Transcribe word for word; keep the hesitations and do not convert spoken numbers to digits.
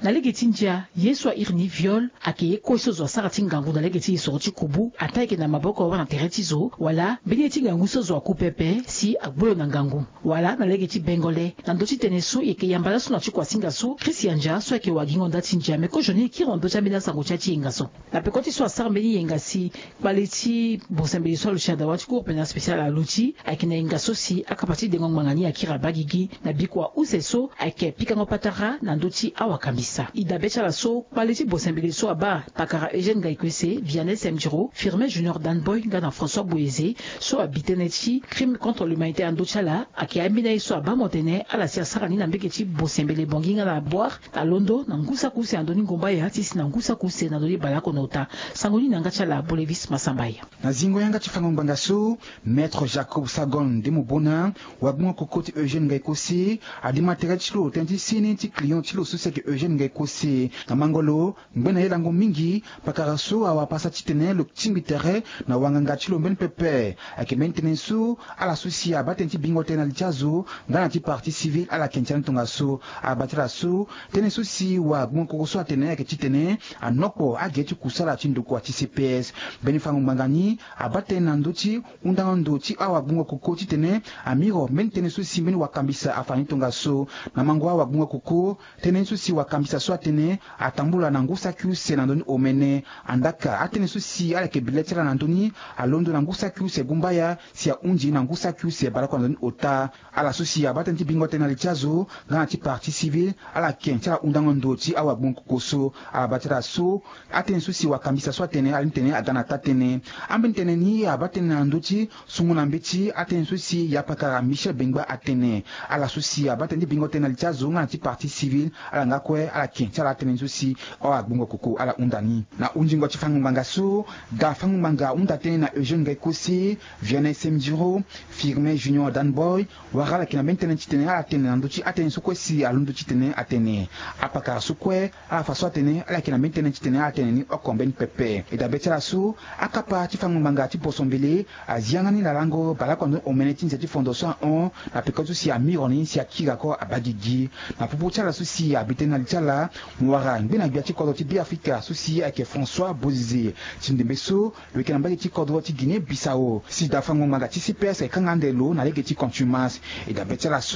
Na lege ti ndia, ye so a iri ni viol ayeke ye kue so zo asara ti ngangu na lege ti e soro ti kubu, ataa ayeke na maboko wala na tere ti zo, wala mbeni ye ti ngangu so zo aku pepe si agbu lo na ngangu. Wala na lege ti bengole, na ndö ti tënë so e yeke yamba laso na ti kuasinga so Christian Dia so ayeke wagingo nda ti ndia me kozoni e kiri na ndö ti ambeni asango ti ayenga so. Na peko ti so asara mbeni yenga si kpale ti bosembele so aluti na dawa ti Cour pénale spéciale aluti, ayeke na yenga so si akapa ti dengo ngbanga ni akiri abaa gigi na bikua use so ayeke pikango patara na ndö ti awakambisa. E dabe ti ala so kpale ti bosembele so abaa pakara Eugène Ngaï Koessé, Vianney Semdiro, Firmin Junior Danboy nga na François Boyeze so abi tënë ti crime contre l'humanité na ndö ti ala, ayeke ambeni aye so abaa mo tene ala si asara ni na mbege ti bosembele Bangui nga na Bouar, alondo na ngu saki use na ndö ni Ngombaya ti si na ngu saki use na ndö ni Balakono ota. Sango ni na yanga ti ala Bolevis Masambaya. Na zingo yanga ti fango ngbanga so, Maître Jacob Sagon Ndemobona, wagbongo koko ti Eugène Ngaï Koessé, adima tere ti lo tënë ti seni ti client ti lo so si ayeke Eugène Ngaï Koessé. Na mango lo, ngbene aye lango mingi, pakara so awara pasa titene lo tingbi tere na wanganga ti lo mbeni pepe. Ayeke mbeni tënë so ala so si abaa tënë ti bingo tënë na li ti azo nga na ti partie civile ala yeke ndia ni tongaso. Ala baa ti ala so tënë so si wagbongo koko so atene ayeke titene anokpo age ti kusala ti ndokua ti C P S. Mbeni fango ngbanga ni abaa tënë na ndö ti hundango ndo ti awagbongo koko titene amiro mbeni tënë so si mbeni wakambisa afa ni tongaso. Na mango awagbongo koko, tënë ni so si wakambisa so atene atambula na ngu saki use na ndö ni omene. Andaka atënë so si ala yeke bi le ti ala na ndö ni, alondo na ngu saki use Gumbaya si ahundi na ngu saki use Balakono na ndö ni ota. Ala so si abaa tënë ti bingo tënë na li ti azo nga na ti partie civile, ala yeke ti ala hundango ndo ti awagbongo koko so. Ala baa ti ala so atënë so si wakambisa so atene ala ni tene aga na taa tënë. Ambeni tënë ni abaa tënë na ndö ti sungo na mbeti atënë so si yapakara Michel Bengba atene. Ala so si abaa tënë ti bingo tënë na li ti azo nga na ti partie civile, ala nga kue ala yeke ti ala atënë so si awagbongo koko ala hunda ni. Na hundingo ti fango ngbanga so, da fango ngbanga ahunda tënë na Eugène Ngaï Koessé, Vianney Semdiro, Firmin Junior Danboy, wala ala yeke na mbeni tënë titene ala tene na ndö ti atënë so kue si alondo titene atene. Apakara so kue, ala fa so atene ala yeke na mbeni tënë titene ala tene ni oko mbeni pepe. E dabe ti ala so akapa ti fango ngbanga ti boso mbele azi yanga ni na lango Balakono na ndö ni omene ti nze ti fondo so ahon, na peko so si amiro ni si akiri ako abaa gigi. Na popo ti ala so si abi tënë na li ti ala, mo wara ngbene gbia ti kodro ti Beafrika so si ayeke François Bozizé. Ti ndembe so, lo yeke na mbage ti kodro ti Guinée Bissau. Si da fango ngbanga ti C P S ayeke kanga ande lo na lege ti contumace. E dabe ti ala so